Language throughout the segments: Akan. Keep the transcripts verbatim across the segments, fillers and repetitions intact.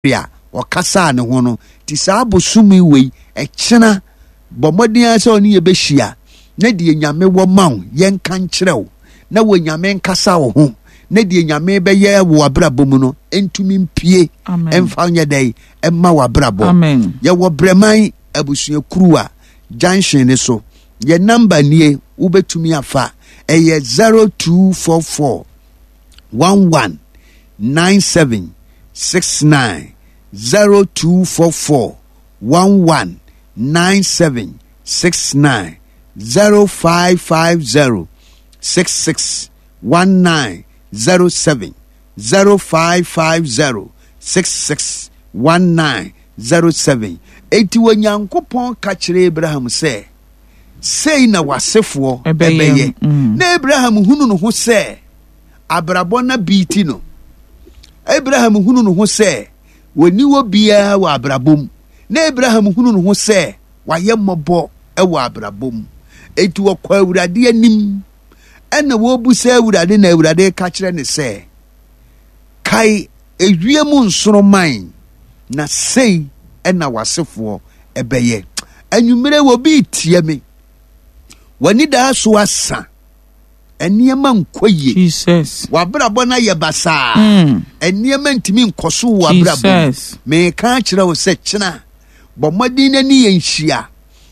A ɔkasaa ne ho no nti, saa bosome wei ɛkyena, bɔ mmɔden ara sɛ ɔne yɛbɛhyia na deɛ Nyame wɔ ma wo, yɛnka nkyerɛ wo, na wɔ Nyame nkasa wo ho, na deɛ Nyame bɛyɛ wɔ abrabɔ mu no ntumi mpie ɛmfa nyɛ dɛn ɛma wɔ abrabɔ. Yɛwɔ Brɛman Abusuakuru a junction ne so. Yɛ number nie, wobɛtumi afa, ɛyɛ zero two four four one one nine seven six nine, zero two four four one one nine seven six nine, zero five five zero six six one nine zero seven, zero five five zero six six one nine zero seven. Eti Onyankopɔn ka kyerɛ Abraham sɛ sei na w'asefoɔ ɛbɛyɛ mm. Na Abraham hunu no ho sɛ abrabɔ na biiti no, Abraham hunu no ho sɛ wɔni wɔ biara wɔ abrabɔ mu, na Abraham hunu no ho sɛ wayɛ mmɔbɔ wɔ abrabɔ mu. Eti wɔkɔ Awurade anim ɛna wɔrebusa Awurade, na Awurade ka kyerɛ ne sɛ, "Kae ewiem nsoroman, na sei ɛna w'asefoɔ ɛbɛyɛ." Anwummerɛ wɔ bi tie me, w'ani daa so asa, nneɛma nkɔ yie, w'abrabɔ no ayɛ basaa, mm. nneɛma ntumi nkɔ so wɔ abrabɔ mu, meka akyerɛ wo sɛ kyena bɔ mmɔden n'ani yɛ nhyia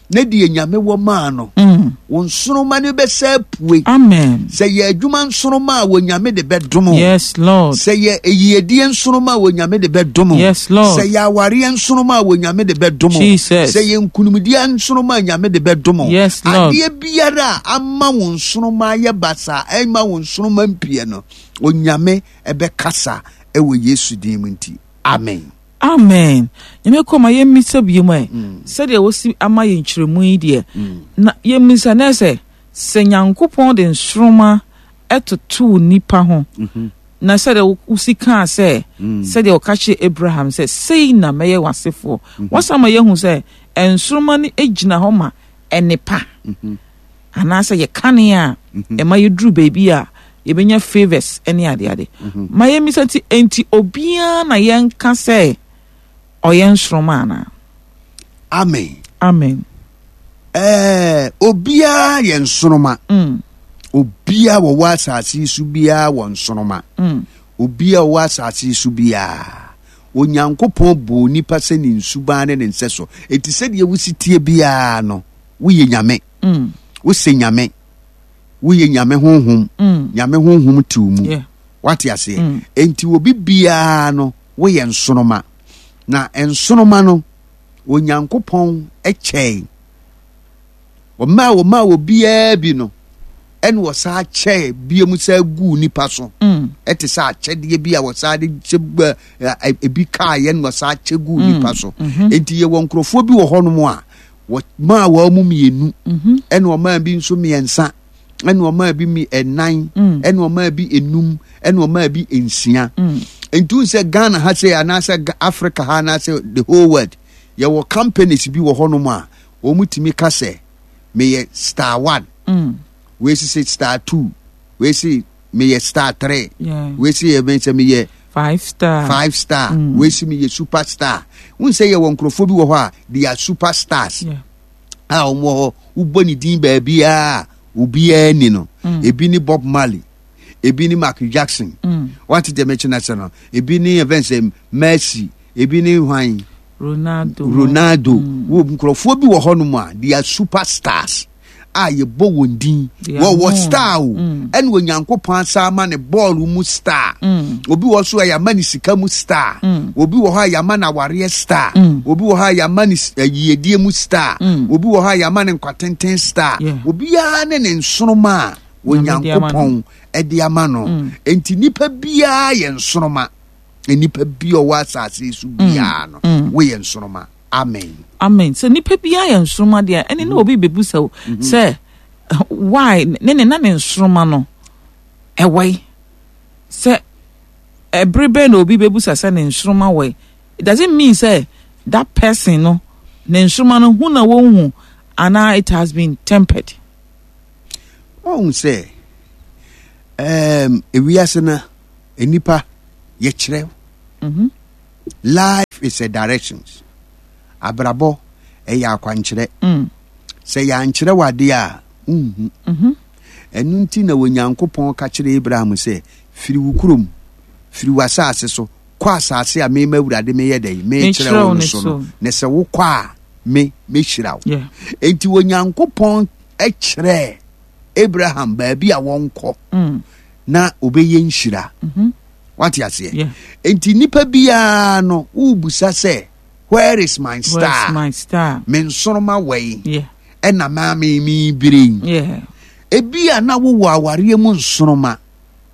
na deɛ Nyame wɔ maa no mm. wo nsoroma no bɛsɛ apue. Sɛ yɛ adwuma nsoroma a, wɔ Nyame de bɛdom. Sɛ yɛ eyiedie nsoroma a, wɔ Nyame de bɛdom. Sɛ yɛ awareɛ nsoroma a, wɔ Nyame de bɛdom. Sɛ yɛ nkunimdie nsoroma a, Nyame de bɛdom. Adeɛ biara a ama wo nsoroma ayɛ basaa, ɛma wo nsoroma mpie no, Onyame ɛbɛkasa ɛwɔ Yesu din mu nti, amen. Amen. Nyame kɔ ma yɛmmisa bio mu ɛ mm. Sɛdeɛ wosi ama yɛ nkyerɛmu yi deɛ, mm. na yɛmmisa nɛ sɛ sɛ Nyankopɔn de nsoroma ɛtoto nipa ho mhm. na sɛdeɛ wosi kaa sɛ mm. sɛdeɛ ɔka kyerɛ Abraham sɛ sei na mɛyɛ w'asefoɔ mhm. wɔsan ma yɛhu sɛ nsoroma no gyina hɔ ma ɛnepa mhm. anaasɛ yɛ kane a ɛma yɛduru baabi a yɛbɛnya favours ne adeade. Ma yɛmmisa nti, enti obiara na yɛnka sɛ ɔyɛ nsoroma anaa? Amen. Amen. Ɛɛ, obiara yɛ nsoroma mm. Obiara wɔwɔ asase yi so biara wɔ nsoroma mm. Obiara wɔwɔ asase yi so biara, Onyankopɔn bɔɔ nipa sɛ ne nsuban ne ne nsɛ so. Eti sɛdeɛ wosi tie biara no, woyɛ Nyame mm. Wosɛ Nyame, woyɛ Nyame honhom mm. Nyame honhom te wo mu yeah. Wate aseɛ mm. Enti obi biara no woyɛ nsoroma, na nsoroma no Onyankopɔn kyɛe ɔmaa ɔmaa obiara bi no, ɛna ɔsaa kyɛɛ bia mu saa guu nipa so mm. Ɛte sɛ akyɛdeɛ bi a wɔsaa de kyɛ ebi kaayɛ na wɔsaa kyɛ guu mm. nipa so mm-hmm. Enti yɛwɔ nkurɔfoɔ bi wɔ hɔnom a wɔmaa wɔn mu mmienu, mm-hmm. ɛna ɔmaa bi nso mmiɛnsa, ɛna ɔmaa bi mi ɛnan, mm. ɛna ɔmaa bi enum, ɛna ɔmaa bi nsia. Nti sɛ Ghana ha sɛ anaasɛ Africa ha anaasɛ the whole world, yɛwɔ companies bi wɔ hɔnom a wɔn tumi ka sɛ meyɛ star one mm. wei sisi star two, wei si meyɛ star three, wei si yɛ sɛ meyɛ five star, five star mm. wei si meyɛ super star. N sɛ yɛwɔ nkurɔfoɔ bi wɔ hɔ a they are super stars yeah. a wɔn wɔ hɔ, wobɔ ne din baabiara, obiara ni no mm. Ebi ne Bob Marley, ebi ne Michael Jackson mm. Wate deɛ mɛkyɛ no sɛ no, ebi ne event sɛ Messi, ebi ne hwan? Ronaldo. Ronaldo mm. Wo nkurɔfoɔ bi wɔ hɔnom a they are super stars a yɛbɔ wɔn din, wɔwɔ star o mm. Ɛna Onyankopɔn asa ama ne bɔɔlo mu star mm. Obi wɔ so a yɛama ne sika mu star mm. Obi wɔ hɔ a yɛama no awareɛ star mm. Obi wɔ hɔ a yɛama ne yiedie mu star mm. Obi wɔ hɔ a yɛama ne nkwatenten star yeah. Obiara ne ne nsoroma a Onyankopɔn ɛde ama no mm. Nti nipa biara yɛ nsoroma. Nipa bi a ɔwɔ asase yi so biara no, woyɛ nsoroma. Amen. Amen. Sɛ nipa biara yɛ nsoroma deɛ, ɛne na obi bɛbu wo sɛ why ne ne na ne nsoroma no ɛwɔe sɛ ɛbere bɛn na obi bɛbusa sɛ ne nsoroma wɔe? It doesn't mean sɛ that person no ne nsoroma no hu na wɔnhu anaa it has been tempered. Ɔhu sɛ um, ewiase no nipa yɛkyerɛ mm -hmm. Life is a directions. Abrabɔ ɛyɛ akwankyerɛ. Mm. Sɛ yɛankyerɛ wo adeɛ a, wonhu. Mhm. Ɛno nti na Onyankopɔn ka kyerɛ Abraham sɛ, firi wo kurom, firi w'asase so, kɔ asase a mema Awurade meyɛ dɛn? Mekyerɛ wo no so no. Na sɛ wokɔ a, me mɛhyira wo. Yeah. Enti Onyankopɔn kyerɛɛ Abraham baabi a wɔnkɔ Mm. na obɛyɛ nhyira. Mhm. Wate aseɛ? Yeah. Enti nipa biara no, wobusa sɛ, where is my Where's star? my star? Me nsoroma wɔ yi, Yeah. ɛna maa me mebire yi. Yeah. Ebi a na wowɔ awareɛ mu nsoroma,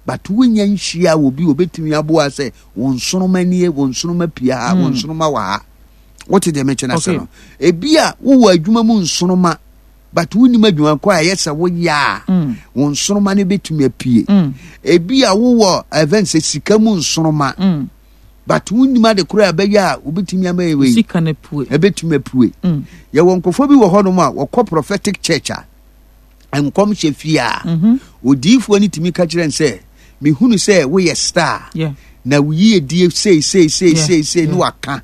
but wonya nhyia wɔ bi obetumi aboa sɛ wo nsoroma nie, wo nsoroma pia ha, wo nsoroma wɔ ha. Wote deɛ mekyɛ no ase Okay. no? Ebi a wowɔ adwuma mu nsoroma, but wonim adwuma kɔ a ɛyɛ sɛ woyɛ a, Mm. wo nsoroma no bɛtumi apue. Mm. Ebi a wowɔ event sɛ sika mu nsoroma, Mm. but wonim ade koraa a ɛbɛyɛ a wobɛtumi ama yɛ wei, Sika no pue. ɛbɛtumi apue. Mm. Yɛwɔ nkurɔfoɔ bi wɔ hɔnom a wɔkɔ prophetic church a nkɔmhyɛ fie a Mhm. odiyifoɔ no tumi ka kyerɛ no sɛ mehunu sɛ woyɛ star Yeah. na wo yiedie sei sei sei Yeah, sei sei ne yeah. waka,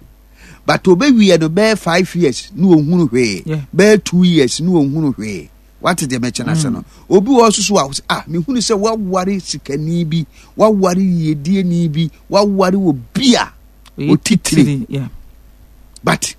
but obɛwie no bɛyɛ five years ne ɔhunu hwee, Yeah. bɛyɛ two years ne ɔhunu hwee. Wate deɛ mɛkyɛ no ase no? Obi wɔ hɔ so so a ah, mehunu sɛ woaware sikani bi, woaware yiedieni bi, woaware obi a Ɔyɛ otitire. titire. Yeah. But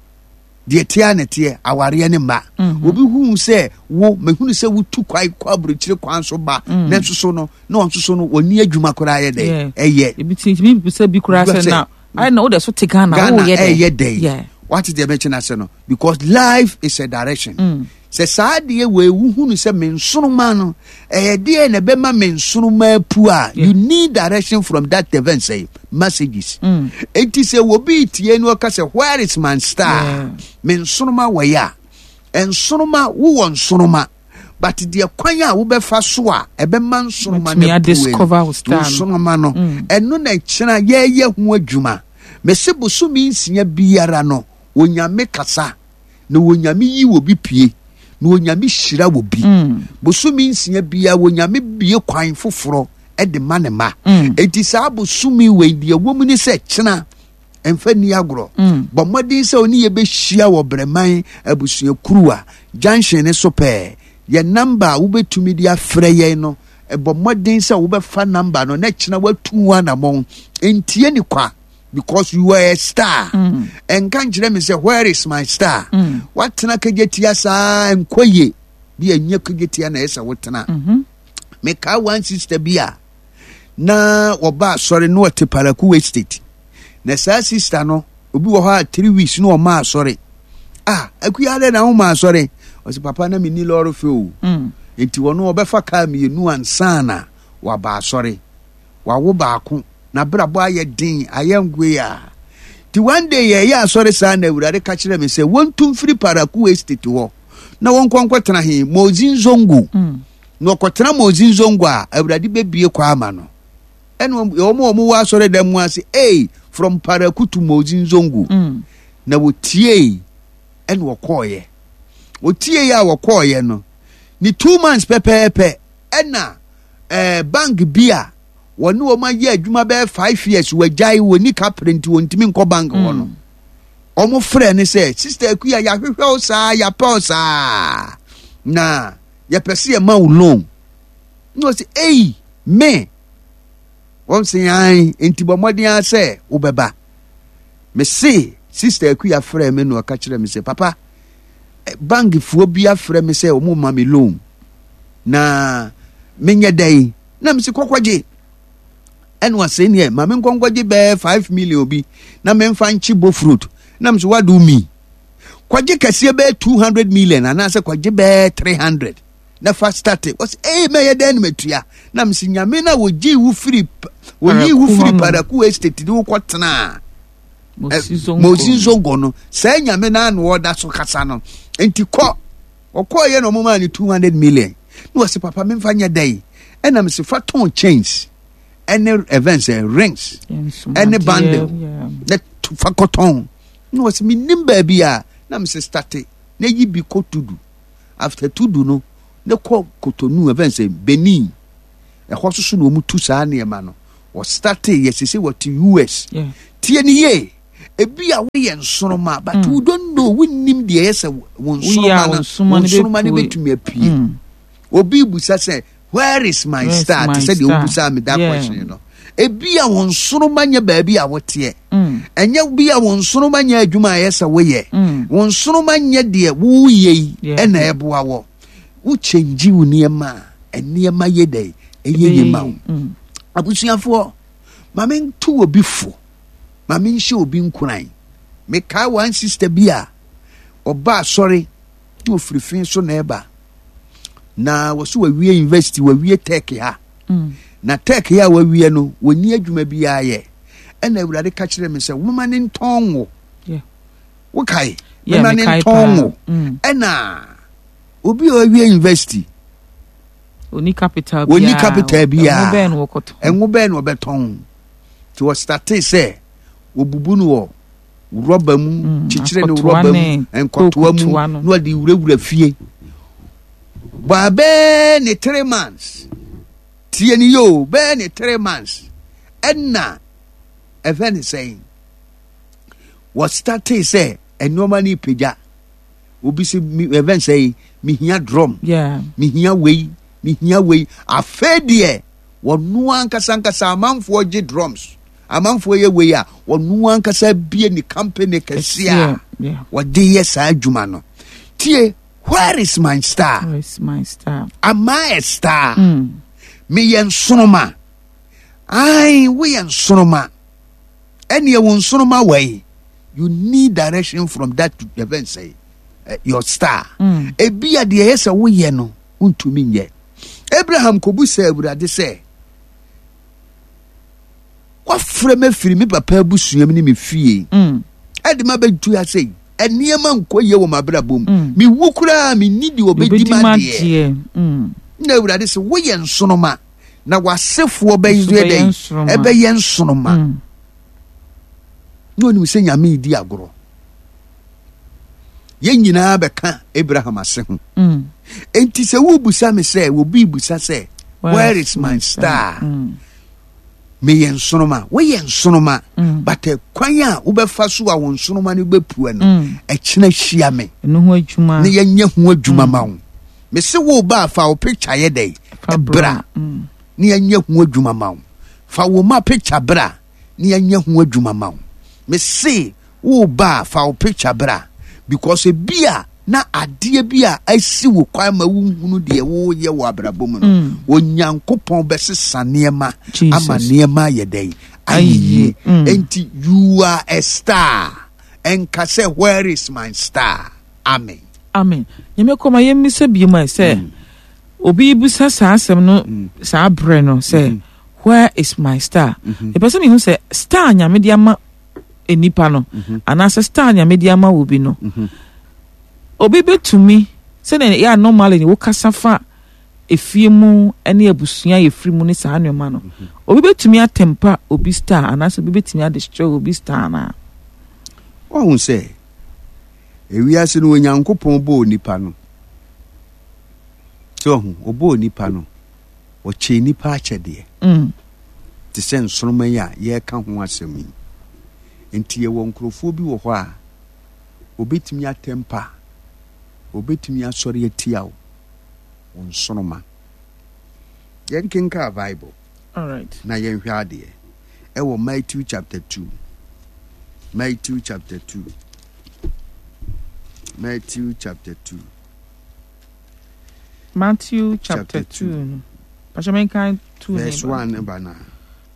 deɛ teɛ a na teɛ awareɛ ne mma. Mhm. Obi hu sɛ wo mehunu sɛ wotu kwan kɔ aburokyire kwan so ba, Mm. na nso so no na ɔnso so no wɔni adwuma koraa yɛ dɛ Yeah. ɛyɛ Ebi ti tumi bisa bi koraa Bisa sɛ sɛ, na ayɛ na wode so te Ghana, Ghana woyɛ dɛn? ɛyɛ dɛn? Yeah. Wate deɛ mɛkyɛ no ase no? Because life is a direction. Mm. Sɛ saa deɛ wɔ ewu hunu sɛ me nsoroma no ɛyɛ deɛ na ɛbɛma me nsoroma apu a, Yeah. you need direction from that event sɛ messages. Mm. Enti sɛ obi tie no ɔka sɛ, where is my star? Yeah. Me nsoroma wɔ yɛ a, nsoroma wowɔ nsoroma, but deɛ kwan a wobɛfa so a ɛbɛma nsoroma Wotumi no apue adiscover wo star no. nsoroma no, Mm. ɛno na kyena yɛyɛ ho adwuma. Mese bosome nsia biara no Onyame kasa na Onyame yi wɔ bi pie na Onyame hyira wɔ bi. Mm. Bosome nsia biara Onyame bie kwan foforɔ de ma ne ma. Mm. Enti saa bosome wei deɛ wɔ mu ne sɛ kyena ɛmfa nni agorɔ. Mm. Bɔ mmɔden sɛ ɔne yɛbɛhyia wɔ Brɛman abusuakuru a junction ne so pɛɛ. Yɛ number a wobɛtumi de afrɛ yɛn no, bɔ mmɔden sɛ wobɛfa number no na kyena woatu ho anammɔn. Ntie ne kwa, because you are a star. Mm. Ɛnka nkyerɛ me sɛ where is my star? Mm. Woatena kagyatia saa nkɔ yie bi, ɛnyɛ kagyatia na ɛsɛ sɛ wotena. Mhm. Mekaa one sister bi a na wɔba asɔre na ɔte Paraku Estate, na saa sister no obi wɔ hɔ a three weeks na ɔma asɔre. Ah, Akuya, dɛ na woma asɔre? Ɔsɛ, papa, na menni lɔre fɛ o. Mm. Nti wɔno ɔbɛfa kaa mmienu ansa na waba asɔre. Wawo baako na brabɔ ayɛ den ayɛ nkoe a, nti one day yɛyɛ asɔre saa na Awurade ka kyerɛ me sɛ wɔntu mfiri Paraku Estate hɔ na wɔnkɔ nkɔtena he Mozi Nzongo. Mm. Na ɔkɔtena Mozi Nzongo a, Awurade bɛbie kɔ ama no. Ɛna wɔn a wɔwɔ asɔre dan mu ase, ei, from Paraku to Mozi Nzongo. Mm. Na wɔtiei ɛna wɔkɔɔyɛ. Wɔtiei a wɔkɔɔyɛ no ne two months pɛpɛɛpɛ ɛna ɛɛ bank bi a wɔne wɔn ayɛ adwuma bɛyɛ five years wɔagyae wɔn ni kapere nti wɔntumi nkɔ bank hɔ no, wɔn frɛ ne sɛ, Sister Akuya, yɛahwehwɛ wo saa, yɛapɛ wo saa, na yɛpɛ sɛ yɛma wo loan. Na ɔsɛ, ei, me? Wɔn sɛ yan, nti bɔ mmɔden ara sɛ wobɛba. Mese Sister Akuya frɛ me na ɔka kyerɛ me sɛ, papa, eh, bankfoɔ bi afrɛ me sɛ wɔn ma me loan na menyɛ dɛn? Na mese kɔkɔgye. Ɛna ɔsɛ neɛ ma me nkɔnkɔgye bɛɛ five million bi na memfa nkye bo fruit. Na mese, what do you mean? Kɔgye kɛseɛ bɛyɛ two hundred million anaasɛ kɔgye bɛyɛ three hundred na fa start. Ɔsɛ, ee, mɛyɛ dɛn na matua? Na mese Nyame no a wɔgyee wo firi wɔyii wo firi Paraku Estate de wokɔ tenaa Mosi Zongo no, saa Nyame no ano ɔda so kasa no. Nti kɔ. Ɔkɔɔyɛ na ɔmomaa no two hundred million. Na wɔse, papa, memfa nyɛ dɛn? Ɛna mese fa tɔn chains ɛne events ɛ rings ɛne bundle na fa kɔtɔn. Na wɔse menim baabi a. Na mese start na yi bi kɔ Tudu. After Tudu no ne kɔ Kotonu, events ɛ Benin, ɛhɔ soso na wɔn tu saa nneɛma no. Wɔstarte yɛ sese wɔte U S. Tie ne yie. Ebi a woyɛ nsoroma, but mm. you don't know, wonnim deɛ ɛyɛ sɛ wo nsoroma no, wo nsoroma no bɛtumi apue. Mm. Obi busa sɛ, "Where is my Where's star?" Te sɛ deɛ wobusa me that question no. Ebi a wo nsoroma nyɛ baabi a woteɛ. Mm. Ɛnyɛ bi a wo nsoroma nyɛ adwuma a ɛyɛ sɛ woyɛ. Wo nsoroma nyɛ deɛ woyɛ yi ɛna ɛboa wɔ. Wo change wo nneɛma a, nneɛma yɛ dɛ ɛyɛ yie ma wo. Abusuafoɔ, ma mento obi fo, ma menhyɛ obi nkuran. Mekae one sister bi a ɔba asɔre na ofiri fi so na ɛba, na wɔso wawie university, wawie tech ha mm. Na tech ha a wawie no, wɔnni adwuma biara yɛ. Ɛna Awurade ka kyerɛ me sɛ moma ne ntɔn wo. Wokae? Mema ne ntɔn wo mm. Ɛna obi a wawie university, oni capital biara, oni capital biara, ɛnwo bɛn na ɔbɛtɔn? Nti wɔstartee sɛ wɔbubu no wɔ rɔba mu, mm, kyekyere no rɔba mu, nkɔtoa mu, na wɔde wurawura fie. Baa bɛɛ ne three months, tie ne yio, bɛɛ ne three months ɛna ɛfɛ ne sɛn, wɔstartee sɛ nneɛma no pagya. Obi sɛ ɛfɛ ne sɛn, mehia drum, mehia wei, mehia wei. Afei deɛ wɔno ankasa ankasa, amanfoɔ gye drums, amanfoɔ yɛ wei a, wɔno ankasa bie ne company kɛse a wɔde yɛ saa adwuma no. Tie, where is my star? Where is my star? Am I a star? Mm. Meyɛ nsoroma. Ai, woyɛ nsoroma. Ɛneɛ wo nsoroma wai. You need direction from that event, say uh, your star. Mm. Ebi a deɛ ɛyɛ sɛ woyɛ no, wontumi nyɛ. Abraham kɔbu sɛ Awurade sɛ, wafrɛ me afiri me papa abusua mu ne me fie mm. ɛde ma bɛdu ase yi, nneɛma nkɔ yie wɔ m'abrabɔ mu mm. Mewu koraa, menni deɛ ɔbɛdi ma deɛ mm. Na Awurade sɛ, woyɛ nsoroma, na w'asefoɔ bɛyɛ dɛn? Ɛbɛyɛ nsoroma. Na onim sɛ Nyame redi agorɔ. Yɛn nyinaa bɛka Abraham ase ho. Enti sɛ wobusa me sɛ, obi busa sɛ, "Where is my star?" Mm. Meyɛ nsoroma, woyɛ nsoroma mm. But kwan a wobɛfa so a wo nsoroma no bɛpue no, mm. ɛkyena hyia me na yɛnyɛ ho adwuma ma wo. Mese wo ba, fa wo picture yɛ dɛn bra na yɛnyɛ ho adwuma ma wo. Fa wo ma picture bra na yɛnyɛ ho adwuma ma wo. Mese wo ba, fa wo picture bra, because ebi a na adeɛ bi a asi wo kwan ma wohunu deɛ woyɛ wɔ abrabɔ mu no mm. Onyankopɔn bɛsesa nneɛma ama nneɛma ayɛ dɛn? Ayɛ yie. Mm. Enti you are a star. Ɛnka sɛ, "Where is my star?" Amen. Amen. Nyame kɔma yɛmmisa bio ma sɛ mm. obi bisa saa asɛm no mm. saa berɛ no sɛ mm -hmm. "Where is my star?" mm-hmm. Ɛpɛ sɛ mehu sɛ star Nyame de ama nipa no mm -hmm. anaasɛ star Nyame de ama wo bi no mm -hmm. obi bɛtumi, sɛdeɛ yɛ a normally wokasa fa efie mu ne abusua yɛfiri mu ne saa nneɛma no mm -hmm. obi bɛtumi atemper obi star anaasɛ obi bɛtumi adestroy obi star anaa? Wahu sɛ ewiase no, Onyankopɔn bɔɔ nipa no sɛ ɔho ɔbɔɔ nipa no, ɔkyɛɛ nipa akyɛdeɛ mm. te sɛ nsoroma yi a yɛreka ho asɛm yi. Nti yɛwɔ nkurɔfoɔ bi wɔ hɔ a obɛtumi atemper, obɛtumi asɔre atia wo wo nsoroma. Yɛnkenkaa Bible Alright. na yɛnhwɛ adeɛ ɛwɔ Matthew chapter two, Matthew chapter two, Matthew chapter two. Matthew chapter two no. Pastor, menkan two verse one ba na.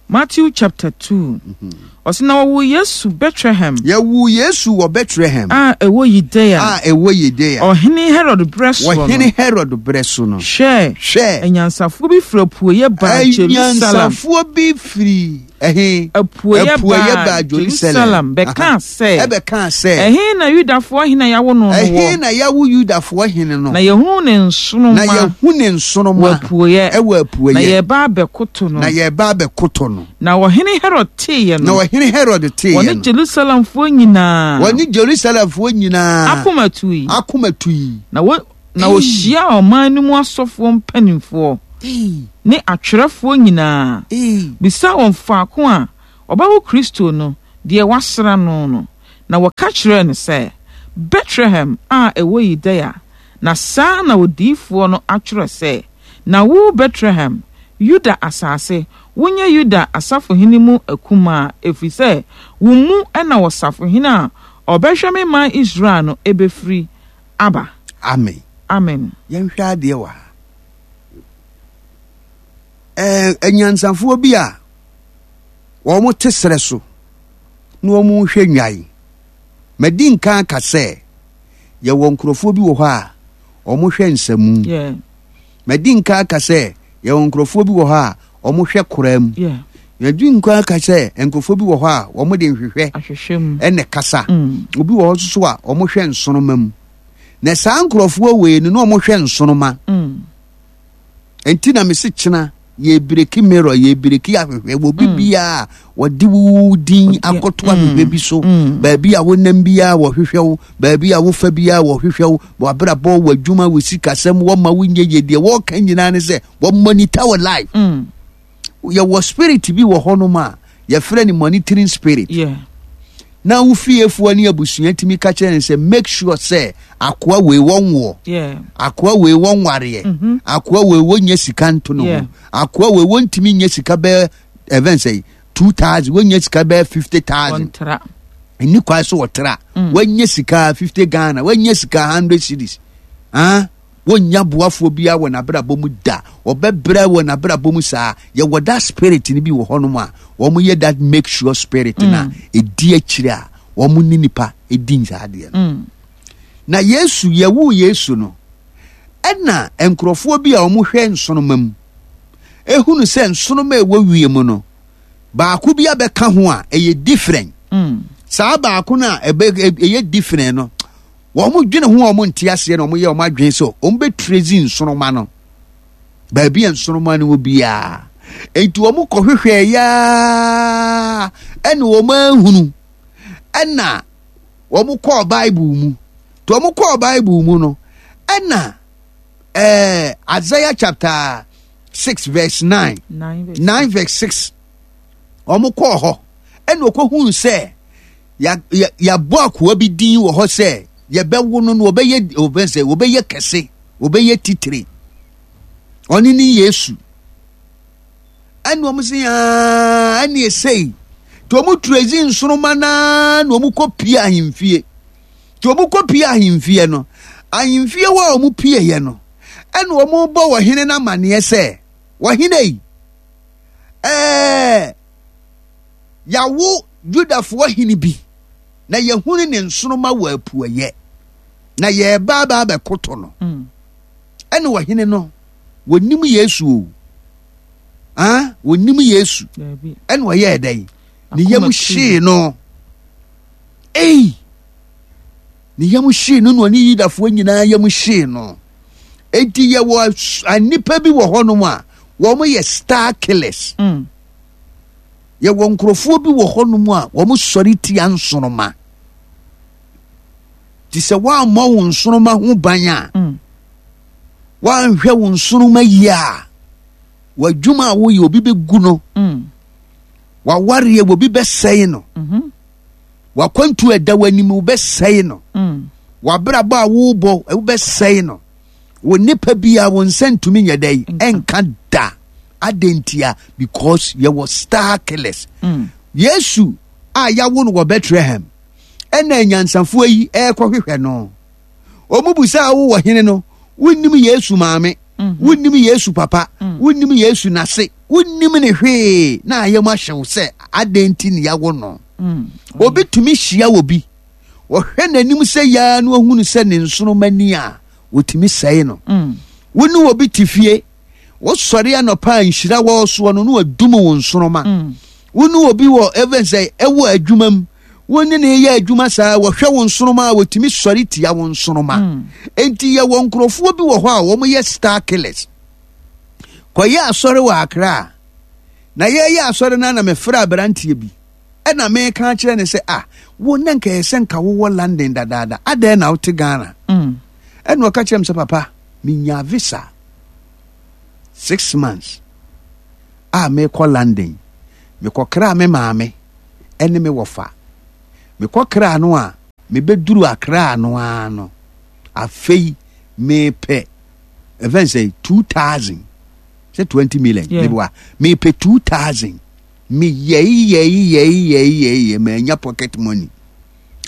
Matthew chapter two. Ɔsɛ na wɔwoo Yesu Bethlehem. Yɛwoo Yesu wɔ Bethlehem. A ɛwɔ Yudea. A ɛwɔ Yudea. Ɔhene Herod berɛ soɔ no. Ɔhene Herod berɛ so no. Hwɛ. Hwɛ. Anyansafoɔ bi firi apueeɛ baa Jerusalem. Anyansafoɔ bi firi ɛhe? Apueeɛ baa Jerusalem bɛkaa sɛ. Ɛbɛkaa sɛ. Ɛhe na Yudafoɔ hene a yɛawo no no wɔ? Ɛhe na yɛawo Yudafoɔ hene no? Na yɛhunu ne nsoromma. Na yɛhu ne nsoromma. Wɔ apueeɛ. Ɛwɔ apueeɛ. Na yɛreba abɛkoto no. Na yɛreba abɛkoto no. Na ɔhene Herod teeɛ no. Na ɔhene Herod teeɛ no. Wɔne Jerusalemfoɔ nyinaa. Wɔne Jerusalemfoɔ nyinaa. Akoma tui. Akoma tui. Na wɔ na wɔhyiaa ɔman no mu asɔfoɔ mpanimfoɔ ne atwerɛfoɔ nyinaa, bisaa wɔn faako a ɔbɛwo Kristo no, deɛ wɔasra no no. Na wɔka kyerɛɛ no sɛ, Betlehem a ɛwɔ Yudea, na saa na odiyifoɔ no atwerɛ sɛ, Na wo Betlehem, Yuda asase, wonyɛ Yuda asafohene mu akumaa, ɛfiri sɛ wo mu na ɔsafohene a ɔbɛhwɛ me man Israel no bɛfiri aba. Amen. Amen. Yɛnhwɛ adeɛ wɔ ha. Ɛɛ anyansafoɔ bi a wɔn te serɛ so na wɔn rehwɛ nnwan. Madi nkan aka sɛ yɛwɔ nkurɔfoɔ bi wɔ hɔ a wɔhwɛ nsamu. Yeah. Madi nkan aka sɛ yɛwɔ nkurɔfoɔ bi wɔ hɔ a wɔhwɛ koraa mu. Yeah. Madi nkan aka sɛ nkurɔfoɔ bi wɔ hɔ a wɔde nhwehwɛ Ahwehwɛ mu. ɛna kasa. Mm. Obi wɔ hɔ nso so a wɔhwɛ nsoroma mu. Na saa nkurɔfoɔ wei no na wɔhwɛ nsoroma. Mm. Nti na mese kyena yɛbreak mirror, yɛbreak ahwehwɛ wɔ bi biara wɔde wo din akɔto ahwehwɛ bi so. Mm. Baabi a wonam biara wɔhwehwɛ wo, baabi a wofa biara wɔhwehwɛ wo, w'abrabɔ, w'adwuma, wo sikasɛm, wɔma wo nyɛ yie. Deɛ wɔreka nyinaa ne sɛ wɔmonitor wo life. Mm. Yɛwɔ spirit bi wɔ hɔnom a yɛfrɛ no monitoring spirit. Yeah. Na wo fiefoɔ ne abusua tumi ka kyerɛ no sɛ make sure sɛ akoa wei wɔnwoɔ, Yeah. akoa wei wɔnwareɛ, Mhm. akoa wei wɔnyɛ sika nto no Yeah. ho, akoa wei wɔntumi nyɛ sika bɛyɛ ɛfɛn sɛ two thousand, wɔnyɛ sika bɛyɛ fifty thousand. Wɔntra. Ɛni kwan so wɔtra. Wɔnyɛ sika fifty Ghana, wɔnyɛ sika hundred cedis, ah, wɔnya boafoɔ biara wɔ n'abrabɔ mu da, ɔbɛbrɛ wɔ n'abrabɔ mu saa. Yɛwɔ that spirit no bi wɔ hɔnom a wɔn yɛ that make sure spirit na ɛdi akyire a wɔn ne nipa ɛdi saa adeɛ no. Mm. Na Yesu, yɛwoo Yesu no, ɛna nkurɔfoɔ bi a wɔhwɛ nsoroma mu ehunu sɛ nsoroma a ɛwɔ wiem no baako bi abɛka ho a ɛyɛ different. Mm. Saa baako no a ɛbɛ ɛyɛ different no, wɔn dwene ho a wɔn nte aseɛ na wɔn yɛ wɔn adwene sɛ wɔn bɛ trace nsoroma no baabi a nsoroma no wɔ biara. Eti wɔn kɔhwehwɛ yaa ɛna wɔn ahunu, ɛna wɔn kɔɔ Bible mu. Nti wɔn kɔɔ Bible mu no, ɛna ɛɛ Isaiah chapter six verse nine, Nine verse nine verse six, wɔn kɔɔ hɔ ɛna wɔkɔhunu sɛ ya ya yabɔ akoa bi din wɔ hɔ sɛ yɛbɛwo no no wɔbɛyɛ wɔbɛn sɛ wɔbɛyɛ kɛse, wɔbɛyɛ titire, ɔne ne Yesu. Ɛna wɔn sɛ aa ɛna esei nti wɔn trace nsoroma naa na wɔn kɔ pie ahemfie. Nti wɔn kɔ pie ahemfie no, ahemfie hɔ a wɔn pie yɛ no, ɛna wɔn bɔ ɔhene n'amaneɛ sɛ ɔhene yi, ɛɛ yawo Yudafoɔ hene bi na yɛhunu ne nsoroma wɔ apueyɛ na yɛreba aba abɛkoto no. Mm. Ɛna ɔhene no wɔnim Yesu o, ah, wɔnim Yesu. Dabi. Ɛna ɔyɛɛ dɛn? Ne Akoma yam tui. hyee no. Ei, ne yam hyee no na ɔne Yudafoɔ nyinaa yam hyee no. Enti yɛwɔ as- nnipa bi wɔ hɔnom a wɔn yɛ star killers. Mm. Yɛwɔ nkurɔfoɔ bi wɔ hɔnom a wɔn sɔre tia nsoroma. Te sɛ wɔammɔ wo nsoroma ho ban a, Mm. wɔanhwɛ wo nsoroma yie a, w'adwuma a woyɛ obi bɛgu no, Mm. w'awareɛ obi bɛsɛe no, Mhm. w'akwantu a ɛda w'anim wobɛsɛe no, Mm. w'abrabɔ a wobɔ wobɛsɛe no, wo nipa bi a wo nsa ntumi nyɛ dɛ Nka. ɛnka da. Adentia? Because yɛwɔ star killers. Mm. Yesu a yɛawo no wɔ Bethlehem, ɛna anyansafoɔ yi ɛrekɔhwehwɛ no, wɔn bu sɛ awo wɔ hene no, wonnim Yesu maame, Mhm. wonnim Yesu papa, Mm. wonnim Yesu n'ase, wonnim ne hwee, na ayɛ mu ahyɛw sɛ adɛn nti ne yɛawo no. Mm. Obi tumi hyia wɔ bi, wɔhwɛ n'anim sɛ yaa no ohunu sɛ ne nsoroma ni a, wɔtumi sɛe no. Mm. Wo ne obi te fie, wosɔre anɔpa a nhyira wɔ soɔ no na wadum wo nsoroma. Mm. Wo ne obi wɔ even sɛ ɛwɔ adwuma mu, wo ne ne yɛ adwuma saa, wɔhwɛ wo nsoroma a, wɔtumi sɔre tia wo nsoroma. Mm. Enti yɛwɔ nkurɔfoɔ bi wɔ hɔ a wɔn yɛ star killers. Kɔyɛ asɔre wɔ Accra a, na yɛyɛ asɔre no na mefrɛ aberanteɛ bi, ɛna meka kyerɛ ne sɛ, ah, wo na nka ɛyɛ sɛ nka wowɔ London dadaada, adɛn na wote Ghana? Mm. Ɛna ɔka kyerɛ me sɛ, papa, menya visa six months a mekɔ London, mekɔkra me maame ɛne me wɔfa. Mekɔ kra no a, mebɛduru Akra no ara no, afei mepɛ ɛfɛn sɛ two thousand sɛ twenty million. Yeah. Meboa, mepɛ two thousand. Meyɛi yɛi yɛi yɛi yɛi yɛ manya pocket money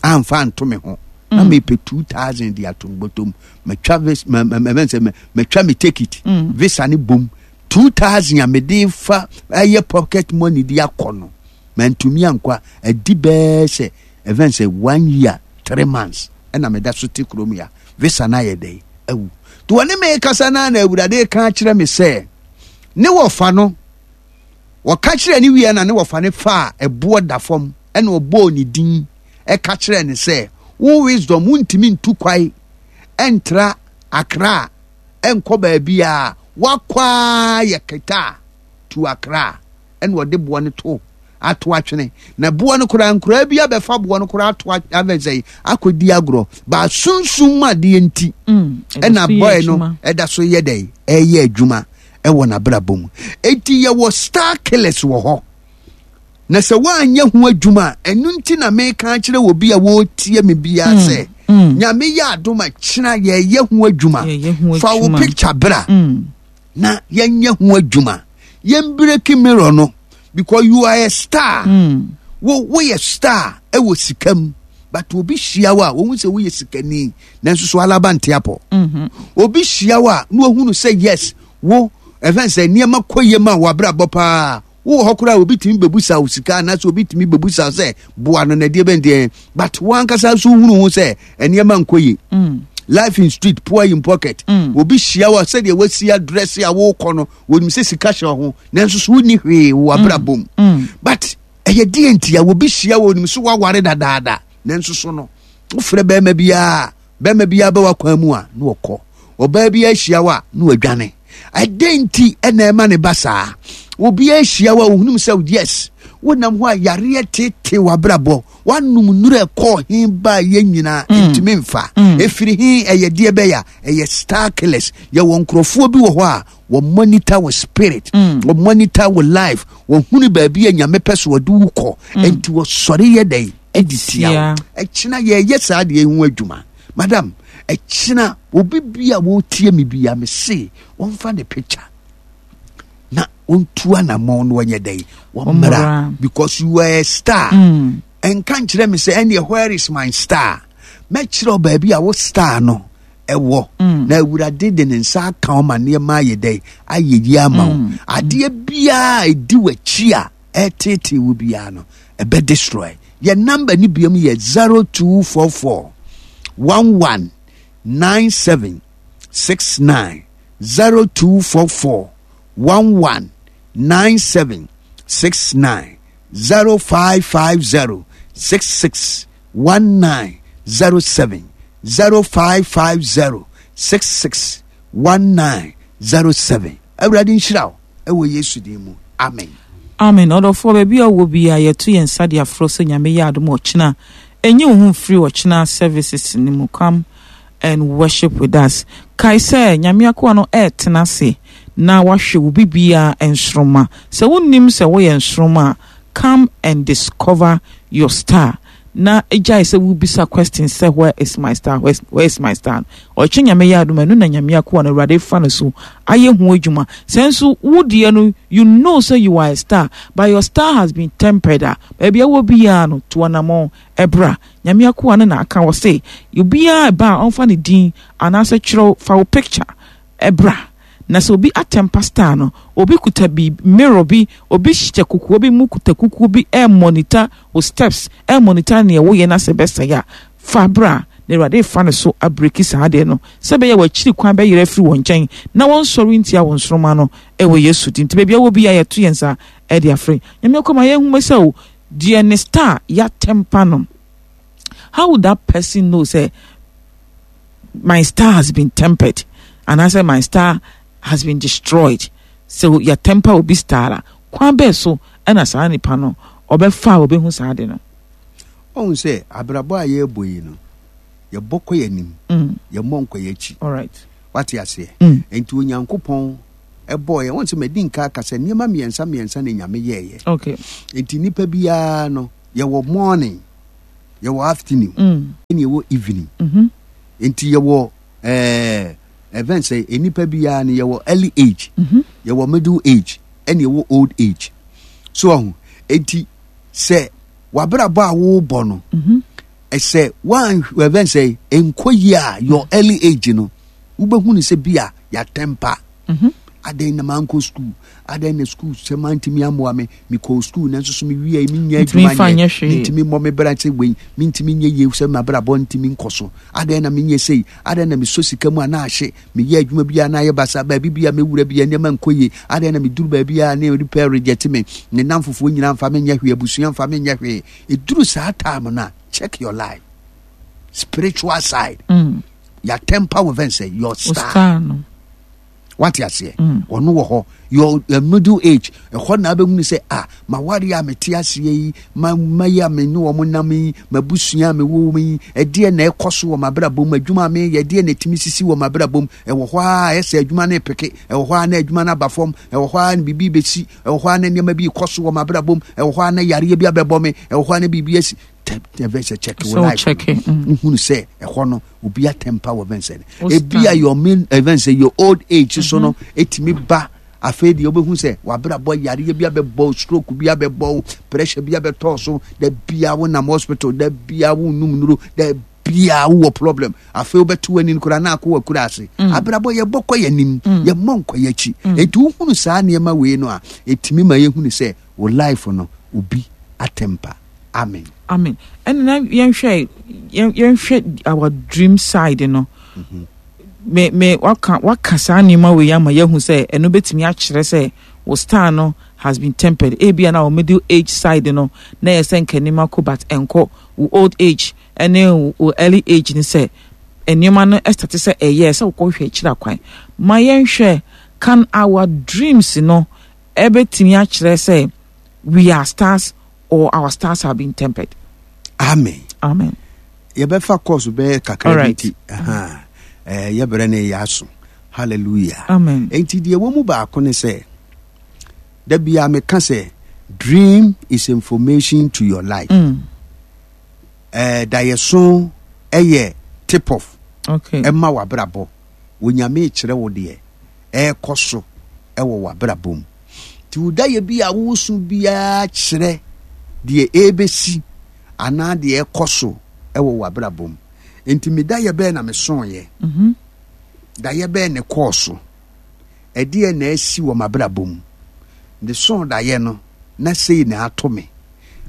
amfa anto me ho na Mm. mepɛ two thousand de ato bɔtɔm. Matwa vis ma ma ma sɛ matwa me ticket, Mm. visa ne bom two thousand a mede fa ɛyɛ pocket money de akɔ no, mantumi ankɔ a adi bɛɛ sɛ ɛfɛn sɛ one year three months ɛna meda so te kurom ya, visa no ayɛ dɛn awu. Nti wɔne me kasa no a, na Awurade ka kyerɛ me sɛ ne wɔfa no, wɔka kyerɛ ne wie na ne wɔfa ne fa a ɛboɔ da fam, ɛna ɔbɔɔ ne din ɛka kyerɛ ne sɛ wo Wisdom, wontumi ntu kwae ɛntra Akra ɛnkɔ baabi a wakɔ a yɛ keta to Akra. Ɛna ɔde boɔ no to ato atwene, na boɔ no koraa, nkoraa bi abɛfa boɔ no koraa ato abɛn sɛ akɔdi agorɔ baa sunsum mu adeɛ nti Mm. ɛna Ɛda so yɛ boy no adwuma. ɛda so yɛ dɛ ɛyɛ adwuma ɛwɔ n'abrabɔ mu. Eti yɛwɔ star killers wɔ hɔ, na sɛ woanyɛ ho adwuma a, ɛno nti na meka akyerɛ wɔ bi a wɔretie me biara sɛ mm. Nyame yɛ adom a, kyena yɛyɛ ho adwuma. Yɛyɛ ho Fa wo adwuma. picture bra Mm. na yɛnyɛ ho adwuma, yɛn break mirror no, because you are a star. Mm. Wo woyɛ star ɛwɔ sika mu, but obi hyia wo a, wɔn sɛ woyɛ sikani, nanso so alaba nte apɔ. Mhm. Obi hyia wo a, na ohunu sɛ yes, wo ɛfɛn sɛ nneɛma kɔ yie ma wabrabɔ paa. Wowɔ hɔ koraa, obi tumi bɛbusa wo sika anaasɛ obi tumi bɛbusa wo sɛ boa no na deɛ bɛn deɛ, but wɔn ankasa nso hunu ho sɛ nneɛma nkɔ yie. Mm. Life in street, poor in pocket. Mm. Obi hyia wo a, sɛdeɛ wasi adrɛse a wokɔ no, wɔnim sɛ sika hyɛ wo ho, nanso so wonni hwee wɔ abrabɔ mu. Mm. But ɛyɛ deɛ nti a obi hyia wo, onim so woaware dadaada, nanso so no wofrɛ bɛrima biara, bɛrima biara bɛ wakwan mu a na wɔkɔ, ɔbaa bi ahyia wo a na wadwane. Ɛdɛn nti ɛna ɛma ne ba saa? Obi ahyia wo a, ohunum sɛ yes, wonam hɔ a yareɛ tete w'abrabɔ, wanom nnuro ɛkɔɔ he ba yɛ nyinaa ntumi mfa ɛfiri he. Ɛyɛ deɛ bɛyɛ a ɛyɛ star killers. Yɛwɔ nkurɔfoɔ bi wɔ hɔ a wɔ monitor wɔ spirit, wɔ monitor wɔ life, wɔhunu baabi a Nyame pɛ so wɔde wo kɔ, enti wɔsɔre yɛ dɛn ɛde tia wo. Ɛkyena yɛyɛ saa deɛ ho adwuma, madam. Ɛkyena obi bi a wɔretie me bi a, mese wɔmfa ne picture na wɔntu anammɔn na wɔnyɛ dɛn wɔmmra, because you are a star. Mm. Ɛnka nkyerɛ me sɛ ɛneɛ where is my star? Mɛkyerɛ wo baabi a wo star no ɛwɔ, na Awurade de ne nsa aka wo ma nneɛma ayɛ dɛn ayɛ yi ama wo. Adeɛ biara a ɛdi w'akyi a ɛtetee wo biara no, ɛbɛ destroy. Yɛ number ne biom yɛ zero two four four one one nine seven six nine, zero two four four one one nine seven six nine, zero five five zero six six one nine zero seven, zero five five zero six six one nine zero seven. Awurade nhyira wo ɛwɔ Yesu din mu, amen. Amen. Ɔdɔfoɔ, baabi a wowɔ bi a, yɛto yɛn nsa de aforɔ sɛ Nyame yɛ adom, ɔkyena ɛnyi wo ho mfiri ɔkyena services no mu. Come and worship with us. Kae sɛ Nyame akoa no ɛɛtena ase na wahwɛ wo bibiaa nsoroma. Sɛ wonnim sɛ woyɛ nsoroma a, come and discover your star, na gyae sɛ wobisa question sɛ "Where is my star? where, where is my star?" Ɔkyɛ Nyame yɛ adom, ɛno na Nyame akoa no Awurade fa no so ayɛ ho adwuma. Sɛ nso wo deɛ no, you know sɛ you are a star, but your star has been tempered a, baabi a wɔ biara no, to anammɔn ɛbra. Nyame akoa no na aka wɔ se obiara ɛba a, ɔmfa ne din anaasɛ kyerɛw fa wo picture ɛbra, na sɛ obi atemper star no, obi kuta bi mirror bi, obi hyɛ kukuo bi mu kuta kukuo bi ɛ monitor wo steps, ɛ monitor nea woyɛ, na sɛ bɛsɛe a, fa bra na Awurade fa no so a break saa adeɛ no, sɛ bɛyɛ w'akyiri kwan bɛyerɛ afiri wɔn nkyɛn na wɔnsɔre ntia wɔn nsoroma no ɛwɔ Yesu din. Nti baabi a wɔ bi a, yɛto yɛn nsa ɛde afrɛ Nyame akɔma yɛnhuma sɛ o deɛ ne star yɛa temper no, how would that person know say my star has been tempered anaasɛ my star has been destroyed? So yɛ temper obi star a, kwan bɛɛ so ɛna saa nipa no ɔbɛfa a ɔbɛhu saa de no? Ɔhu sɛ abrabɔ a yɛrebɔ yi no, yɛbɔ kɔ yɛn anim, Mm. yɛmmɔ nkɔ yɛn akyi. All right. Wate aseɛ? Mm. Nti Onyankopɔn ɛbɔɔ yɛn wɔn sɛ madi nka aka sɛ nneɛma mmiɛnsa mmiɛnsa na Nyame yɛɛyɛ. Okay nti nipa biara no, yɛwɔ morning, Yɛwɔ afternoon, Mm. ɛne yɛwɔ evening. Mhm. Nti yɛwɔ ɛɛ event sɛ nnipa biara no, yɛwɔ early age, Mhm. yɛwɔ middle age, ɛne yɛwɔ old age. So ɔho enti sɛ wabrabɔ a wobɔ no, Mhm. ɛsɛ wan event sɛ nkɔ yie a, your early age no, wobɛhu no sɛ bi a yɛatɛmpa. Mhm. Adɛn na mankɔ school? Adɛn na school sɛ mantumi amoa me? Mekɔɔ school nanso so mewie, menya Ntumi adwuma mfa nyɛ. nyɛ hwee. Mentumi mmɔ me bra sɛ wei, mentumi nyɛ yie sɛ mabrabɔ ntumi nkɔ so. Adɛn na menyɛ sei? Adɛn na mesɔ sika mu a na ahye? Meyɛ adwuma bi a na ayɛ basa, baabi bi a mɛwura bi a nneɛma nkɔ yie. Adɛn na meduru baabi a ne nipa reject me? Ne nam fofoɔ nyinaa mfa menyɛ hwee, abusua mfa menyɛ hwee. Ɛduru saa time no a, check your life spiritual side. Mm. Yɛatɛmpa wo fɛn sɛ your Wo star. star no. Wate aseɛ? Mm. Ɔno wɔ hɔ, your uh, middle age, ɛhɔ na abɛhunu sɛ ah, maware a mete aseɛ yi, ma ma yi a me ne wɔn nam yi, mabusua a mewɔ mu yi, ɛdeɛ na ɛkɔ so wɔ m'abrabɔ mu? Adwuma a meyɛ, ɛdeɛ na ɛtumi sisi wɔ m'abrabɔ mu? Ɛwɔ hɔ a ɛsɛ adwuma no epeke, ɛwɔ hɔ a na adwuma no aba fam, ɛwɔ hɔ a na biribi bɛsi, ɛwɔ hɔ a na nneɛma bi kɔ so wɔ m'abrabɔ mu, ɛwɔ hɔ a na yareɛ bi abɛbɔ me, ɛwɔ hɔ a na biribi asi. Tɛ ɛbɛ sɛ check wo So life. check it. Mm. Wohunu sɛ ɛhɔ no obi atɛmpa wɔ bɛn sɛ Wo ebi a star. your main event sɛ your old age so no etumi ba. Afei deɛ, wobɛhu sɛ wabrabɔ, yareɛ bi abɛbɔ, stroke bi abɛbɔ, pressure bi abɛtɔɔ so, da bia wonam hospital, da bia wonum nuro, da bia wowɔ problem. Afei wobɛto w'ani no koraa na akɔ wakura ase. Abrabɔ, yɛbɔ kɔ yɛnim, yɛmmɔ nkɔ yɛakyi. Enti wohunu saa nneɛma wei no a, ɛtumi ma yɛhunu sɛ wo life no obi atɛmpa. Amen. Amen. Ɛna na yɛnhwɛ yɛn yɛnhwɛ our dream side no. Me me waka waka saa nneɛma wei ama yɛhu sɛ ɛno bɛtumi akyerɛ sɛ wo star no has been tempered. Ebia na wo middle age side no na yɛ sɛ nka nneɛma kɔ, but ɛnkɔ. Wo old age ɛne wo early age ne sɛ nneɛma no ɛstart sɛ ɛyɛ sɛ wokɔhwɛ akyiri akwan. Ma yɛnhwɛ, can our dreams no ɛbɛtumi akyerɛ sɛ we are stars or our stars have been tempered? Amen. Amen. Yɛbɛfa course bɛyɛ kakra bi. Alright. Nti aha, eh, yɛbrɛ no yɛ aso. Hallelujah. Amen. Enti deɛ ɛwɔ mu baako ne sɛ, da bia meka sɛ dream is information to your life. mm. eh, dayɛso ɛyɛ tip off okay ɛma w'abrabɔ. Onyame kyerɛ wo deɛ ɛrekɔ so ɛwɔ w'abrabɔ mu. Nti wo dayɛ bi a woso biara kyerɛ deɛ ɛrebɛsi anaa deɛ ɛkɔ so ɛwɔ w'abrabɔ mu. Nti me dayɛ bɛɛ na mesoeɛ? mm-hmm. Dayɛ bɛɛ ne kɔɔ so? Ɛdeɛ na asi wɔ m'abrabɔ mu? Mesoo dayɛ no na sei na ato me.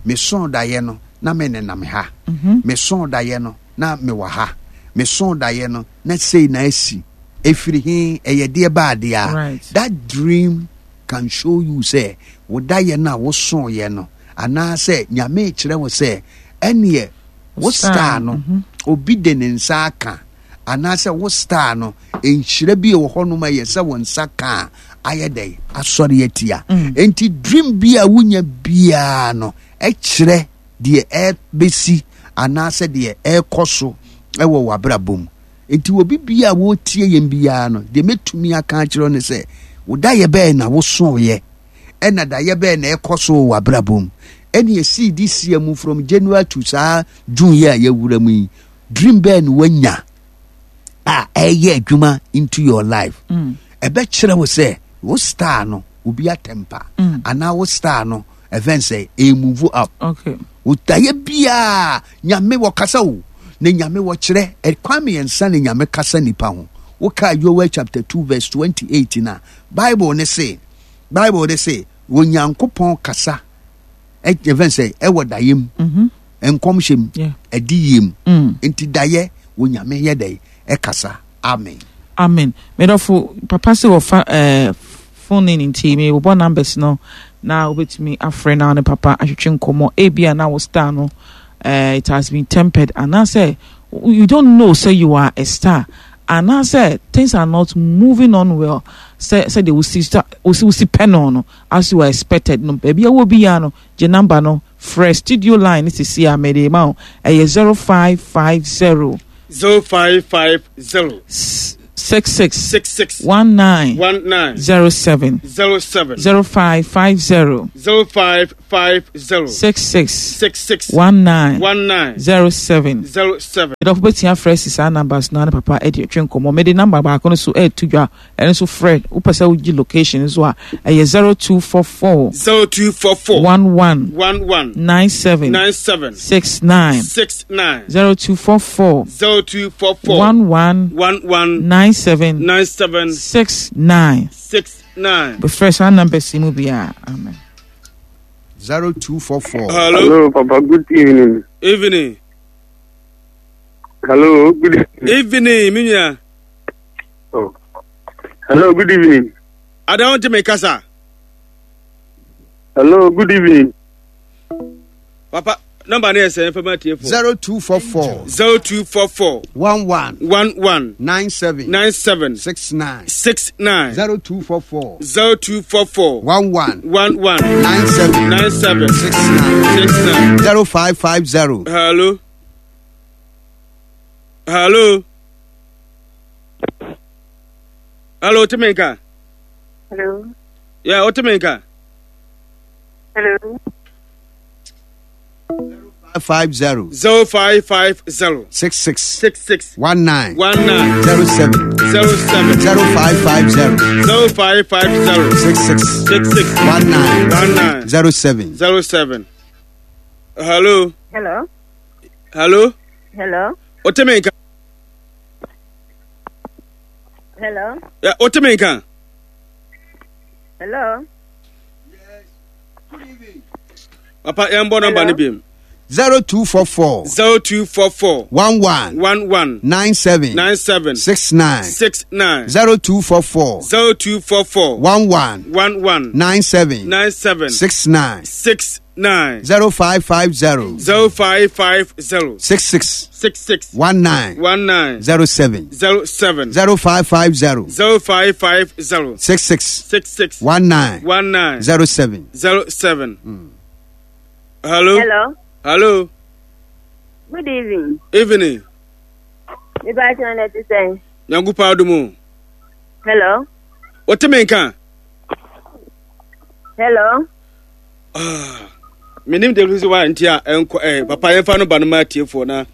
Mesoo dayɛ no na me nenam ha. Mm-hmm. Mesoo dayɛ no na mewɔ ha. Mesoo dayɛ no na sei na asi. Ɛfiri he? Ɛyɛ deɛ baadeɛ a Right. that dream can show you sɛ wo dayɛ no a wosooyɛ no, anaasɛ Nyame kyerɛ wo sɛ ɛneɛ wo star no, mhm. obi de ne nsa aka, anaasɛ wo star no nhyira bi wɔ hɔnom a ɛyɛ sɛ wo nsa ka a, ayɛ dɛn asɔre atia. Enti dream bi a wonya biara no ɛkyerɛ deɛ ɛbɛsi anaasɛ deɛ ɛrekɔ so ɛwɔ w'abrabɔ mu. Enti obi bia a wɔretie yɛn biara no, deɛ mɛtumi aka akyerɛ wo ne sɛ, wo dayɛ bɛɛ na wosooyɛ, ɛna dayɛ bɛɛ na ɛkɔ so wɔ w'abrabɔ mu, ɛne ɛsii this year mu from January to saa June yi a yɛwura mu yi, dream bɛɛ na wanya a ɛyɛ adwuma into your life. Mm. Ɛbɛkyerɛ wo sɛ wo star no obi atɛmpa Mm. anaa wo star no ɛfɛn sɛ ɛmove up. Okay Wotayɛ biaa, Nyame wɔkasa o, na Nyame wɔkyerɛ ɛkwan mmiɛnsa na Nyame kasa nipa ho. Wokaa Joel chapter two verse twenty-eight na Bible ne se Bible ne se Onyankopɔn kasa ɛfɛn sɛ ɛwɔ dayɛ mu, mm-hmm. nkɔmhyɛ mu, Yeah. ɛdiyie mu. Mm. Nti dayɛ Onyame yɛ dɛ ɛkasa. Amen. Amen. Medɔfo papa sɛ wɔfa eh, phone in, nti mebobɔ numbers no na wobɛtumi afrɛ na wo ne papa ahwetwe nkɔmmɔ. Ebia na wo star no eh, it has been tempered, anaasɛ you don't know say you are a star, anaasɛ things are not moving on well sɛ sɛdeɛ wosi star wosi wosi pɛ no no as you are expected no. Baabi a wɔ biara no, gye number no frɛ studio line ne sisi a mede ma wo. Ɛyɛ zero five five zero zero five five zero six six six six one nine one nine zero seven zero seven zero five five zero zero five five zero six six six six one nine one nine zero seven. zero seven. Dɔfo bɛtumi afrɛ si saa numbers no, ne papa ɛde atwe nkɔmmɔ. Mede number baako no so ɛɛto dwa, ɛno nso frɛ. Wopɛ sɛ wogye location nso a, ɛyɛ zero two four four zero two four four one one one one nine seven nine seven six nine six nine zero two four four zero two four four one one one one nine seven nine seven six nine. six nine. Bɛfrɛ saa numbers yi mu biara. Amen. zero two four four. Hello. Hello, Papa. Good evening. Evening. Hello, good evening. Evening, me nua. Oh. Hello, good evening. Ada wonte me kasa. Hello, good evening. Papa, number no yɛ sɛn fama tiefo? zero two four four zero two four four one one one one nine seven nine seven six nine six nine zero two four four zero two four four one one one one nine seven nine seven six nine six nine. zero five five zero Hello. Hello. Hello, Timinka. Hello. Yeah, Otiminka. Hello. five zero Zero five five zero six six six six one nine one nine zero seven zero seven zero five five zero zero five five zero six six six six one nine one nine zero seven. zero seven. Hello. Hello. Hello. Hello. Otiminka. Hello. Yeah, Otiminka. Hello. Papa, yɛn bɔ number Hello? ni bi mu. zero two four four Zero two four four one one one one nine seven nine seven six nine six nine zero two four four zero two four four one one one one nine seven nine seven six nine six nine zero five five zero zero five five zero six six six six one nine one nine zero seven zero seven zero five five zero zero five five zero six six six six one nine one nine zero seven. zero seven. Hello. Hello. Hello. Good evening. Evening. Me pa kyɛw na te sɛn? Nyankopɔn adom. Hello. Woteme nka? Hello. Menim de sɛ wa nti a ɛnkɔ eh, papa yɛmfa no ba no ma atiefoɔ na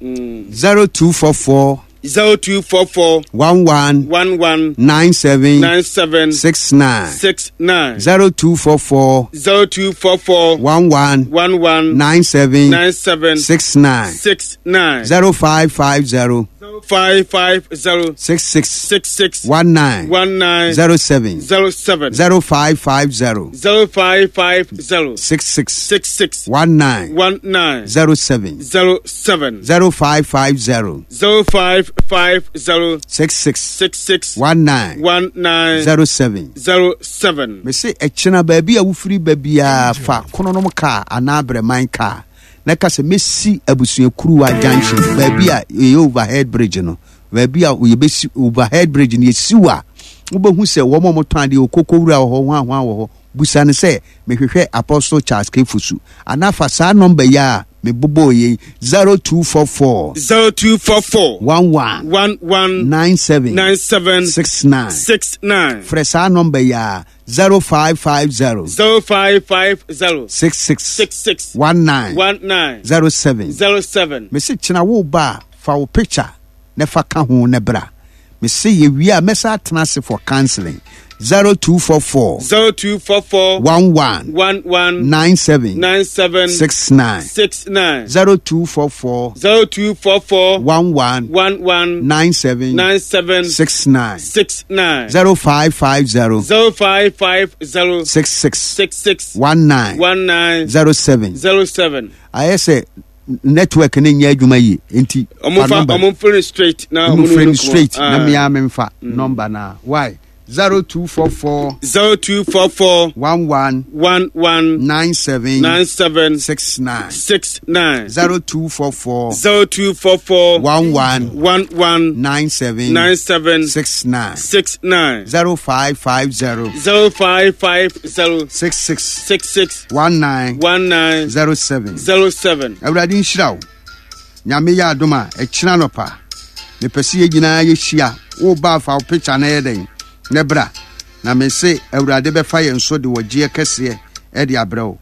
mm, zero two four four zero two four four one one one one nine seven nine seven six nine six nine zero two four four zero two four four one one one one nine seven nine seven six nine six nine zero five five zero five five zero six six six six one nine one nine zero seven zero seven zero five five zero zero five five zero six six six six one nine one nine zero seven zero seven zero five five zero zero five five zero six six six six one nine one nine zero seven. zero seven. Mese ɛkyena baabi a wofiri ba biara, fa Kononom kaa anaa Brɛman kaa na ka sɛ mɛsi Abusuakuruwa junction, baabi a ɛyɛ overhead bridge no. Baabi a yɛbɛsi overhead bridge no, yɛsi wo a, wobɛhu sɛ wɔn a wɔtɔn adeɛ, okoko wura wɔ hɔ, hwan hwan wɔ hɔ. Busa no sɛ mehwehwɛ Apostle Charles Kefusu, anaa fa saa number yi a mebobɔɔ yei, zero two four four zero two four four one one one one nine seven nine seven six nine six nine. Frɛ saa number yi a, zero five five zero zero five five zero six six six six one nine one nine zero seven. zero seven. Mese kyena wo ba a, fa wo picture na fa ka ho ne bra. Mese yɛwie a, mɛsa atena ase for counseling. zero two four four zero two four four one one one one nine seven nine seven six nine six nine zero two four four zero two four four one one one one nine seven nine seven six nine six nine zero five five zero zero five five zero six six six six one nine one nine zero seven. zero seven. Ayɛ sɛ network ne nyɛ adwuma yie nti Ɔmo fa number. ɔmo frɛ no straight na ɔmo ɔmo frɛ no no straight na Ah. mmea memfa number na why zero two four four zero two four four one one one one nine seven nine seven six nine six nine zero two four four zero two four four one one one one nine seven nine seven six nine six nine zero five five zero zero five five zero six six six six one nine one nine zero seven. zero seven. Awurade nhyira wo. Nyame yɛ adom a, ɛkyena nɔpa mepɛ sɛ yɛn nyinaa yɛhyia. Woba afa wo picture no yɛ dɛn ne bra. Na me se Awurade bɛfa yɛn so de wɔgyeɛ kɛseɛ ɛde abrɛ wo.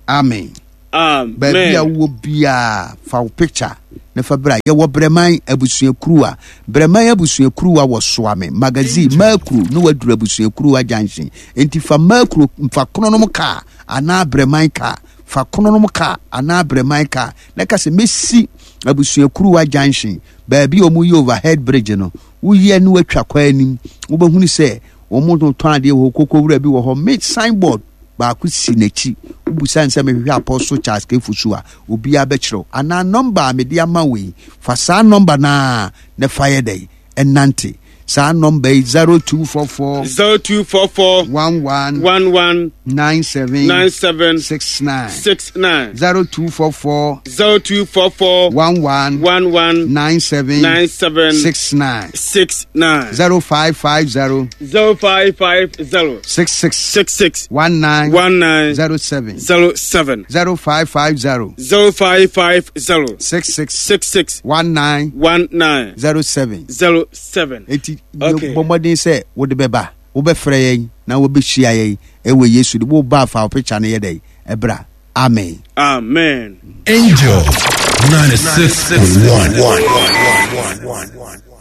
Amen. Amen. Baabi a wowɔ biara, fa wo picture na fa bra. Yɛwɔ Brɛman abusuakuruwa. Brɛman abusuakuruwa wɔ Soame Magazine Makuro ne waduru abusuakuruwa junction. Enti fa Makuro, fa Kronom kaa anaa Brɛman kaa, fa Kronom kaa anaa Brɛman kaa na ka sɛ mɛsi abusuakuruwa junction baabi a wɔyɛ overhead bridge no. Woyɛ ne watwa kwan anim, wobɛhunu sɛ wɔn tɔn adeɛ wɔ hɔ, koko wura bi wɔ hɔ, me signboard baako si n'akyi. Wobusa nsɛ mehwehwɛ Apostle Charles K. Fosu a, obiara bɛkyerɛw. Anaa nɔmba a mede ama wo yi, fa saa nɔmba no a na fa yɛ dɛn ɛnante. Saa nɔmba yi, zero two four four zero two four four one one one one nine seven nine seven six nine six nine zero two four four zero two four four one one one one nine seven nine seven six nine six nine zero five five zero zero five five zero six six six six one nine one nine zero seven zero seven zero five five zero zero five five zero six six six six one nine one nine zero seven. zero seven. Eti Okay. bɔ mmɔden sɛ wode bɛba, wobɛfrɛ yɛn na wobɛhyia yɛn ɛwɔ Yesu de woba afa wo picture no yɛ dɛn ɛbra. Amen. Amen. Angel ninety-six point one.